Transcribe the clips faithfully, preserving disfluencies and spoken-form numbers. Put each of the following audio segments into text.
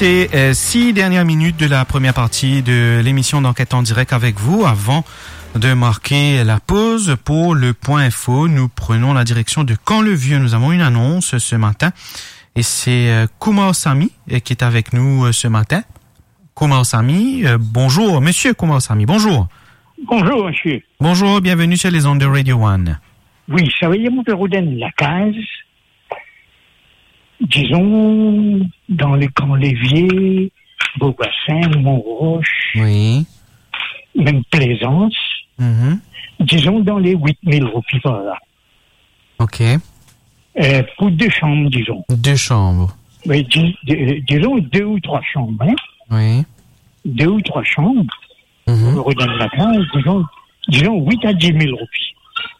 Et, euh, six dernières minutes de la première partie de l'émission d'Enquête en direct avec vous. Avant de marquer la pause pour le point info, nous prenons la direction de Camp-le-Vieux. Nous avons une annonce ce matin et c'est, euh, Koumar Sami, euh, qui est avec nous, euh, ce matin. Koumar Sami, euh, bonjour. Monsieur Koumar Sami, bonjour. Bonjour, monsieur. Bonjour, bienvenue sur les ondes de Radio One. Wi, savedir mo pe rod enn lakaz, dizon, dan le Camp-le-Vieux, Beau-Bassin, Mont-Roche, Wi. Mem Plaisance, Mhm. dizon dan le wit mil roupi par la. Ok. Euh, pou de sanm, dizon. De sanm. Wi, di-, di-, dizon de ou trwa sanm, hein. Wi. De ou trwa sanm. Mhm. Pou rod enn lakaz, dizon, dizon wit a dis mil roupi.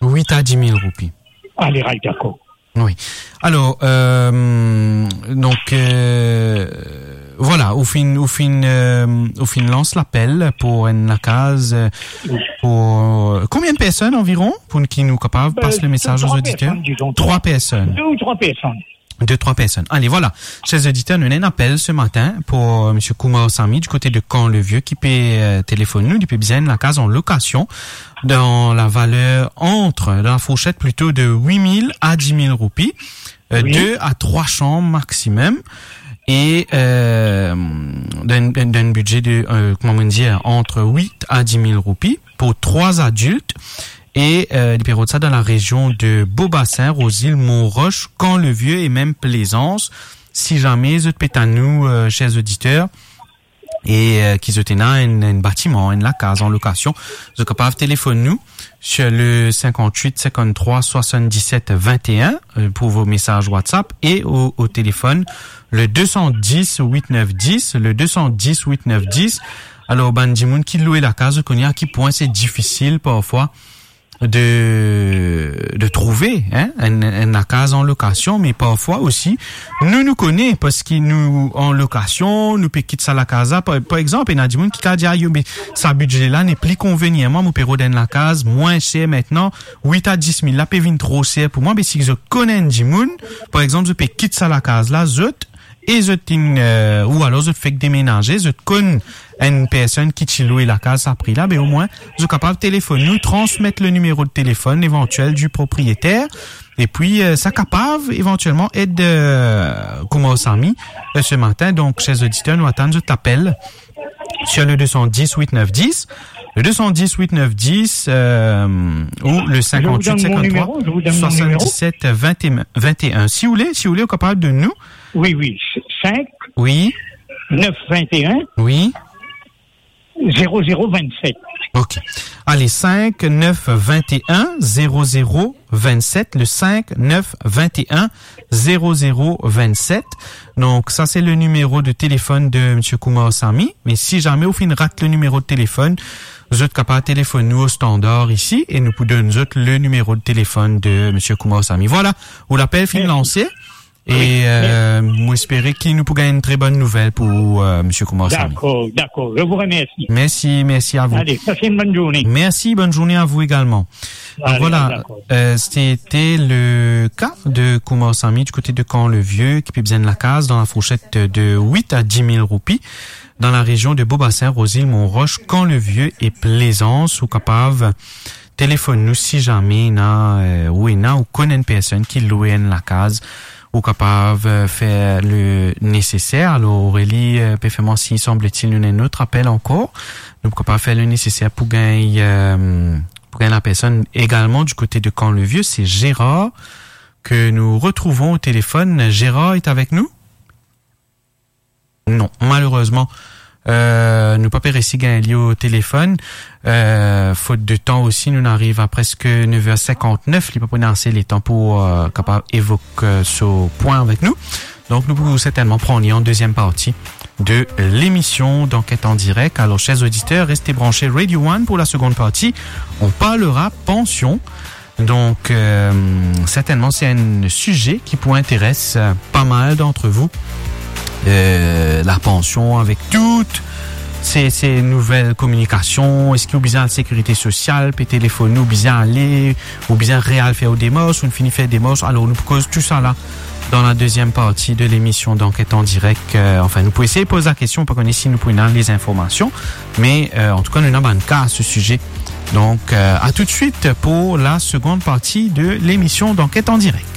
Wit a dis mil roupi. Ale, ray, dakor. Wi. Alor, euh, donk, euh, vwala, ou finn, ou finn, euh, ou finn lans lapel pou enn lakaz, euh, Wi. pou, euh, konbien de personn anviron, pou ki nou kapav pas le mesaz aux auditeurs? Euh, trwa personn, dizon. Trwa personn. De ou trwa personn. De, trwa personn. Ale, vwala. Cher auditeur, nou ena enn apel se matin pou, euh, monsieur Koumar Sami, du côté de Camp-le-Vieux, ki pe, euh, telefonn nou, li pe bizin enn lakaz an lokasion dan la valer ant, dan la fourchet plito de wit mil a dis mil roupi, euh, Wi. de a trwa sanm maximum, e, euh, dan, dan, dan bidze de, euh, kouma nou dir, ant wit a dis mil roupi pou trwa adilt, e, euh, li pe rod sa dan la rezion de Beau-Bassin, Rose-Île, Mont-Roche, Camp-le-Vieux e mem Plaisance. Si zame zot pe tann nou, euh, cher auditeur, e, euh, ki zot ena enn, enn batiman, enn lakaz an lokasion, zot kapav telefonn nou sur le cinquante-huit cinquante-trois soixante-dix-sept vingt et un, euh, pour vos messages WhatsApp, et au, au téléphone, le deux cent dix huit neuf dix, le deux cent dix huit neuf dix. Alor, bann dimoun ki lwe lakaz, zot kone a ki pwin se difisil parfwa de, de trouve, hein, enn, enn lakaz an lokasion, me parfwa osi, nou, nou kone, parski nou an lokasion, nou pe kit sa lakaz la. Par, par exanp, ena dimoun ki kapav dir, "Ah, yo, me sa bidze la nepli konvenir mwa, mo pe rod enn lakaz mwin ser aster, wit a dis mil la pe vinn tro ser pou mwa." Me si zot konn enn dimoun, par exanp, zot pe kit sa lakaz la, zot, e zot inn, euh, ou alor zot fek demenaze, zot konn enn personn ki ti lwe lakaz sa pri la, be omwin, zot kapav telefonn nou, transmet le nimero de telefon evantiel di propriyeter, epi, euh, sa kapav evantielman ed, euh, Koumar Sami, euh, se matin. Donk, cher auditeur, nou atann zot apel sur le deux cent dix huit neuf dix, le deux cent dix huit neuf dix, euh, ou le cinquante-huit cinquante-trois soixante-dix-sept vingt et un. Je vous donne mon numéro, je vous donne mon numéro. Si ou le, si ou le, ou kapav donn nou. Wi, wi, cinq, wi, neuf vingt et un, wi, zéro zéro vingt-sept. Ok. Ale, cinq neuf vingt et un zéro zéro vingt-sept, le cinq neuf vingt et un zéro zéro vingt-sept. Donk, sa se le nimero de telefon de monsieur Koumar Sami. Me si zame ou finn rat le nimero de telefon, zot kapav telefonn nou o standar isi e nou pou donn zot le nimero de telefon de monsieur Koumar Sami. Vwala, ou lapel finn lanse. Mersi. E, euh, mo espere ki nou pou gagn enn tre bonn nouvel pou, euh, monsieur Koumar Sami. Dakor, dakor. Je vous remercie. Merci, merci à vous. Allez, passez une bonne journée. Merci, bonne journée à vous également. Allez, voilà, dakor. Euh, c'était le cas de Koumar Sami du côté de Camp-le-Vieux, ki pe bizin enn lakaz dan la fourchet de wit a dis mil roupi, dan la rezion de Beau-Bassin, Rose-Île, Mont-Roche, Camp-le-Vieux e Plaisance. Ou kapav telefonn nou si zame ena, euh, ou ena, ou konn enn personn ki lwe enn lakaz, ou kapav, euh, fer le neseser. Alor, Aurélie, euh, pe fer mwa sign, sanbletil nou ena enn lot apel ankor. Nou kapav fer le neseser pou gagn, euh, pou gagn la personn egalman du côté de Camp-le-Vieux, c'est Gérard que nous retrouvons au téléphone. Gérard est avec nous ? Non, malerezman, euh, nou pa pe resi gagn li o telefon. Euh, fot de tan osi, nou ariv a preske nev er sinkant-nef, li pa pou ena ase letan pou, euh, kapav evok, euh, so pwin avek nou. Donk, nou pou sertennman pran li an deziem parti de lemision d'Enquête en direct. Alors, chers auditeurs, restez branchés Radio One pour la seconde partie. On parlera pension. Donk, euh, sertennman, se enn size ki pou interes, euh, pa mal d'entre vous. Euh, la pension avek tout se, se nouvel kominikasion, eski ou bizin al sekirite sosial, pe telefonn ou, bizin ale, ou bizin real fer ou demars, ou fini fer demars, alor nou pou koz tou sa la Dan la deziem parti de lemision d'Enquête en direct, euh, anfin, nou pou esey poz la kestion, pa kone si nou pou ena lezinformasion, me, euh, antouka, nou ena bann ka a se size. Donk, euh, a toutswit pou la segond parti de lemision d'Enquête en direct.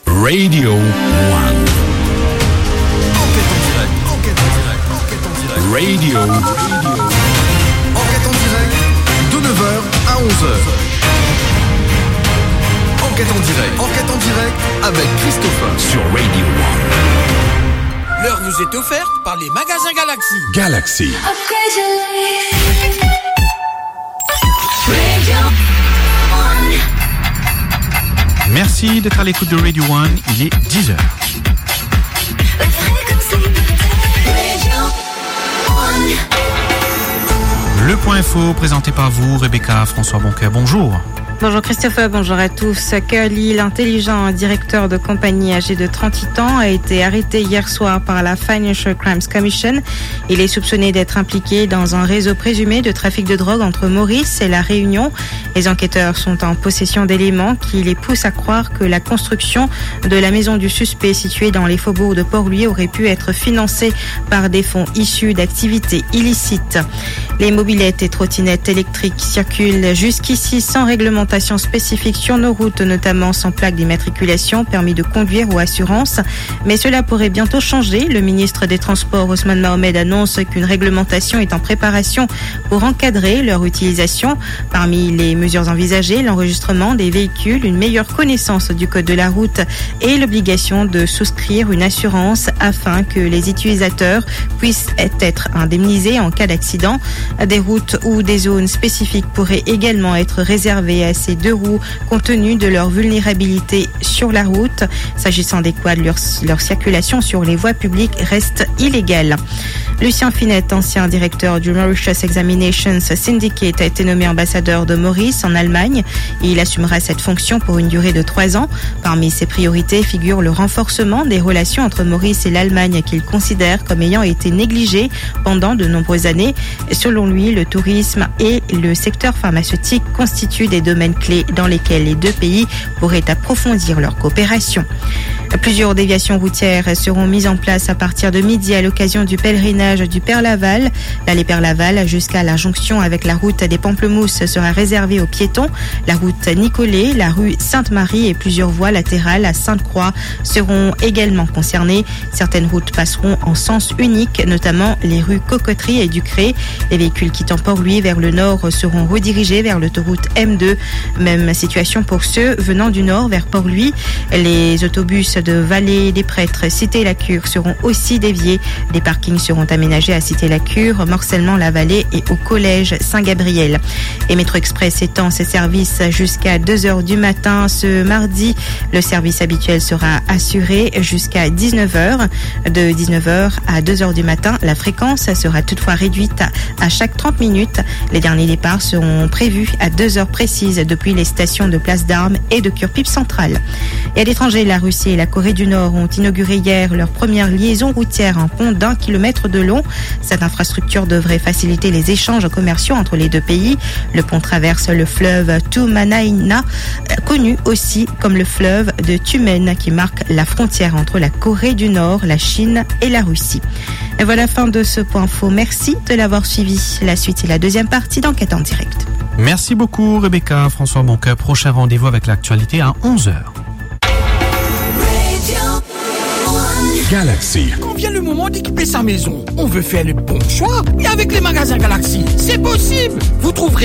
Radio One. Enquête en direct, enquête en direct, enquête en direct. Radio. Enquête en direct, de neuf heures à onze heures. Enquête en direct, enquête en direct avec Christopher sur Radio One. L'heure vous est offerte par les magasins Galaxy. Galaxy. Merci d'être à l'écoute de Radio One, il est dix heures. Le point info présenté par vous, Rebecca François Boncoeur. Bonjour. Bonjour Christopher, bonjour à tous. Curly, l'intelligent directeur de compagnie âgé de trente-huit ans, a été arrêté hier soir par la Financial Crimes Commission. Il est soupçonné d'être impliqué dans un réseau présumé de trafic de drogue entre Maurice et La Réunion. Les enquêteurs sont en possession d'éléments qui les poussent à croire que la construction de la maison du suspect située dans les faubourgs de Port-Louis aurait pu être financée par des fonds issus d'activités illicites. Les mobylettes et trottinettes électriques circulent jusqu'ici sans réglementation spécifique sur nos routes, notamment sans plaque d'immatriculation, permis de conduire ou assurance. Mais cela pourrait bientôt changer. Le ministre des Transports, Ousmane Mohamed, annonce qu'une réglementation est en préparation pour encadrer leur utilisation. Parmi les mesures envisagées, l'enregistrement des véhicules, une meilleure connaissance du code de la route et l'obligation de souscrire une assurance afin que les utilisateurs puissent être indemnisés en cas d'accident. Des routes ou des zones spécifiques pourraient également être réservées à ces deux roues compte tenu de leur vulnérabilité sur la route. S'agissant des quads, leur, leur circulation sur les voies publiques reste illégale. Lucien Finette, ancien directeur du Mauritius Examinations Syndicate, a été nommé ambassadeur de Maurice en Allemagne. Il assumera cette fonction pour une durée de trois ans. Parmi ses priorités figure le renforcement des relations entre Maurice et l'Allemagne, qu'il considère comme ayant été négligées pendant de nombreuses années. Selon lui, le tourisme et le secteur pharmaceutique constituent des domaines clés dans lesquels les deux pays pourraient approfondir leur coopération. Plusieurs déviations routières seront mises en place à partir de midi à l'occasion du pèlerinage du Père Laval. L'allée Père Laval jusqu'à la jonction avec la route des Pamplemousses sera réservée aux piétons. La route Nicolet, la rue Sainte-Marie et plusieurs voies latérales à Sainte-Croix seront également concernées. Certaines routes passeront en sens unique, notamment les rues Cocoterie et Ducré. Les véhicules quittant Port-Louis vers le nord seront redirigés vers l'autoroute M deux. Même situation pour ceux venant du nord vers Port-Louis. Les autobus de Vallée des Prêtres, Cité la Cure seront aussi déviés. Des parkings seront aménagés à Cité la Cure, Morcellement la Vallée et au collège Saint-Gabriel. Et Métro Express étend ses services jusqu'à deux heures du matin ce mardi. Le service habituel sera assuré jusqu'à dix-neuf heures. De dix-neuf heures à deux heures du matin, la fréquence sera toutefois réduite à, à chaque trente minutes. Les derniers départs seront prévus à deux heures précises depuis les stations de Place d'Armes et de Curepipe Central. Et à l'étranger, la Russie et la Corée du Nord ont inauguré hier leur première liaison routière, un pont d'un kilomètre de long. Cette infrastructure devrait faciliter les échanges commerciaux entre les deux pays. Le pont traverse le fleuve Tumanaina, connu aussi comme le fleuve de Tumen, qui marque la frontière entre la Corée du Nord, la Chine et la Russie. Et voilà, fin de ce point info. Merci de l'avoir suivi. La suite et la deuxième partie d'Enquête en direct. Merci beaucoup, Rebecca. François Boncoeur, prochain rendez-vous avec l'actualité à onze heures. Galaxy. Quand vient le moment d'équiper sa maison, on veut faire le bon choix. Et avec les magasins Galaxy, c'est possible. Vous trouverez